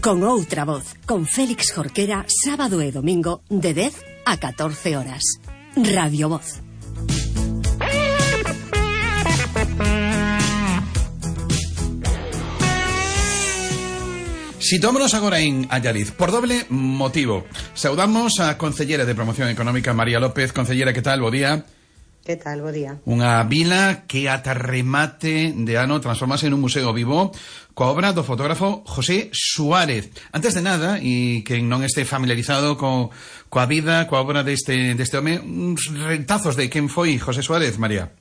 Con outra voz, con Félix Jorquera, sábado e domingo, de 10 a 14 horas. Radio Voz. Sitómonos agora en Allariz, por doble motivo. Saudamos a Concellera de Promoción Económica, María López. Concellera, que tal? Bo día. Que tal? Bo día. Unha vila que ata remate de ano transformase en un museo vivo coa obra do fotógrafo José Suárez. Antes de nada, e quen non este familiarizado coa vida, coa obra deste home, uns retazos de quen foi José Suárez, María.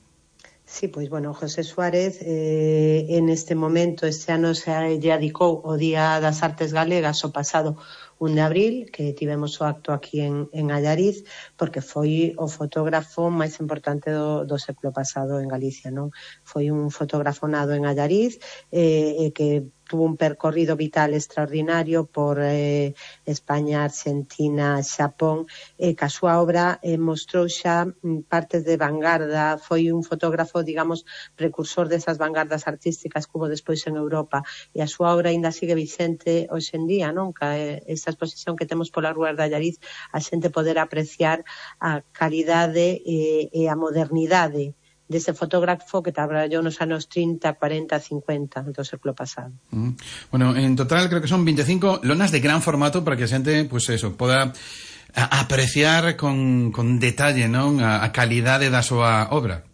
Sí, pois, bueno, José Suárez en este momento, este ano se lle adicou o Día das Artes Galegas o pasado 1 de abril, que tivemos o acto aquí en Allariz, porque foi o fotógrafo máis importante do século pasado en Galicia, non? Foi un fotógrafo nado en Allariz, que tuvo un percorrido vital extraordinario por España, Argentina, Xapón, que a súa obra mostrou xa partes de vanguarda, foi un fotógrafo, digamos, precursor desas vanguardas artísticas que hubo despois en Europa, e a súa obra ainda sigue vicente hoxe en día, non? Que esta exposición que temos pola Rúa de Allariz, a xente poder apreciar a calidade e a modernidade dese fotógrafo que traballou nos anos 30, 40, 50 do século pasado. Bueno, en total creo que son 25 lonas de gran formato para que a xente, pues eso, poda apreciar con detalle, non, a calidade da súa obra.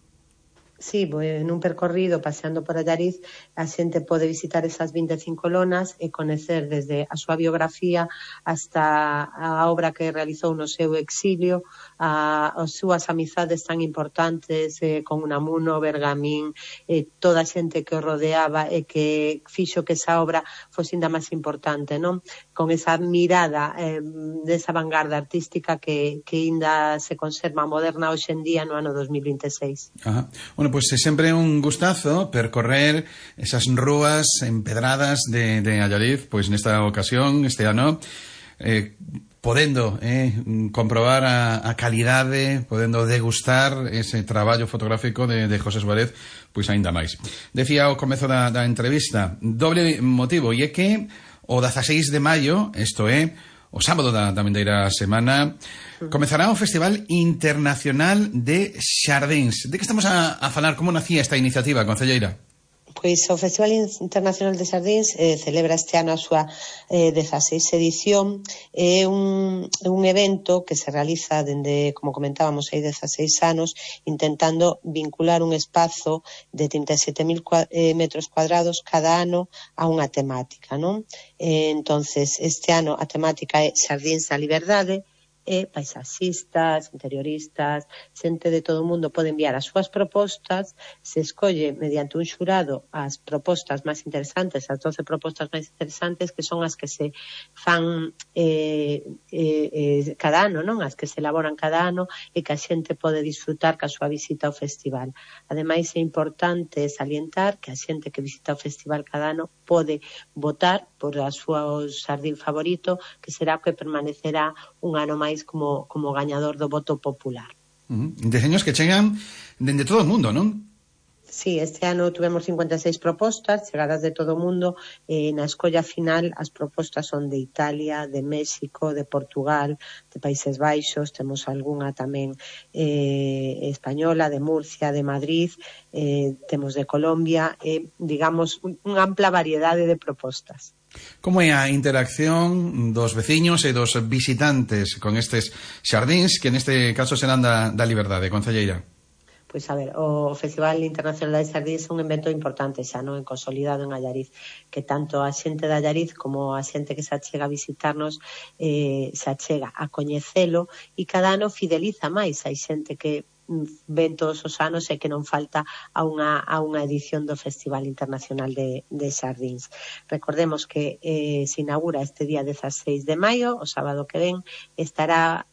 Sí, en un percorrido paseando por Allariz a xente pode visitar esas 25 lonas e conocer desde a súa biografía hasta a obra que realizou no seu exilio, as súas amizades tan importantes con Unamuno, Bergamín, toda a xente que o rodeaba e que fixo que esa obra fose ainda máis importante, non? Con esa mirada desa vanguarda artística que ainda se conserva moderna hoxe en día no ano 2026. Ajá. Bueno, pues é sempre un gustazo percorrer esas rúas empedradas de Allariz, pois nesta ocasión, este ano, podendo comprobar a calidade, podendo degustar ese traballo fotográfico de José Suárez, pois aínda máis. Decía ao comezo da entrevista, doble motivo, e é que o 16 de maio, isto é, o sábado da vindeira semana, comezará o Festival Internacional de Xardíns. De que estamos a falar? Como nacía esta iniciativa, concelleira? Pois o Festival Internacional de Xardíns celebra este ano a súa 16 edición. É un evento que se realiza dende, como comentábamos, hai 16 anos, intentando vincular un espazo de 37.000 metros cuadrados cada ano a unha temática, non? Entonces, este ano a temática é Xardíns da Liberdade, e paisaxistas, interioristas, xente de todo o mundo pode enviar as súas propostas, se escolle mediante un xurado as propostas máis interesantes, as 12 propostas máis interesantes, que son as que se fan cada ano, non? As que se elaboran cada ano e que a xente pode disfrutar ca súa visita ao festival. Ademais, é importante salientar que a xente que visita o festival cada ano pode votar por a súa xardín favorito, que será o que permanecerá un ano máis como gañador do voto popular. Deseños que chegan dende todo o mundo, non? Sí, este ano tuvemos 56 propostas chegadas de todo o mundo. Na escolla final as propostas son de Italia, de México, de Portugal, de Países Baixos, temos algunha tamén española, de Murcia, de Madrid, temos de Colombia, digamos, unha ampla variedade de propostas. Como é a interacción dos veciños e dos visitantes con estes xardíns, que neste caso serán da Liberdade, concelleira? Pois, a ver, o Festival Internacional de Xardíns é un evento importante xa, non? Consolidado en Allariz, que tanto a xente de Allariz como a xente que se achega a visitarnos se achega a coñecelo, e cada ano fideliza máis. Hai xente que ven todos os anos e que non falta a unha edición do Festival Internacional de Xardíns. Recordemos que se inaugura este día 16 de maio, o sábado que ven, estará